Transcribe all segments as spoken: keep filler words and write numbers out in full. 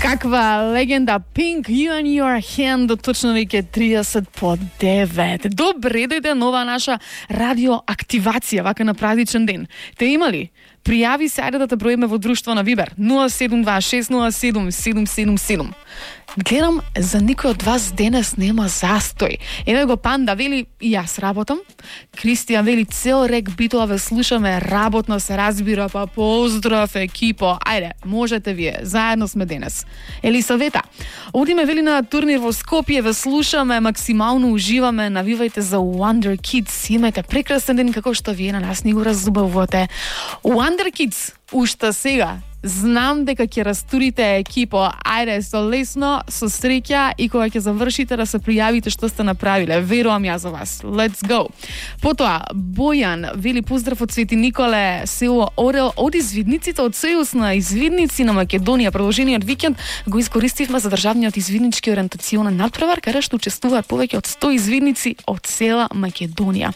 Каква легенда, Pink, You and Your Hand, точно веќе триесет по девет. Добре дојде нова наша радиоактивација, вака на празничен ден. Те имали? Пријави се, ајде да те броиме во друштво на Вибер. нула седум два шест нула седум седум седум седум. Гледам, за никој од вас денес нема застој. Еве го Панда, вели, и јас работам. Кристијан вели, цел рек битова ве слушаме, работно се разбира, па поздрав екипо. Ајде, можете вие, заедно сме денес. Елисавета, одиме вели на турнир во Скопје, ве слушаме, максимално уживаме, навивајте за Wonder Kids. Имајте прекрасен ден како што вие на нас ни го разубавувате. Wonder Kids, уште сега, знам дека ќе растурите екипо. Ајде, со лесно, со среќа и кога ќе завршите да се пријавите што сте направиле. Верувам ја за вас. Let's go. Потоа, Бојан вели поздрав од Свети Николе, село Орел, од извидниците од Сојуз на извидници на Македонија. Продолжениот викенд го искористивме за државниот извиднички ориентационен натпревар, каде што учествуваат повеќе од сто извидници од цела Македонија.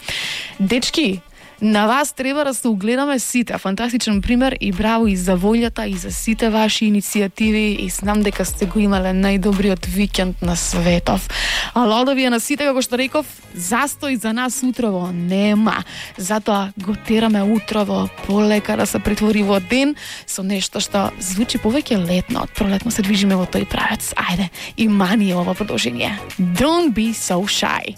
Дечки, на вас треба да се угледаме сите. Фантастичен пример и браво и за волјата и за сите ваши иницијативи и знам дека сте го имале најдобриот викенд на светов. А лодови на сите, како што реков, застој за нас утрово нема. Затоа го тераме утрово полека да се претвори во ден со нешто што звучи повеќе летно. Од пролетно се движиме во тој правец. Ајде, и мани ова продолжение. Don't be so shy.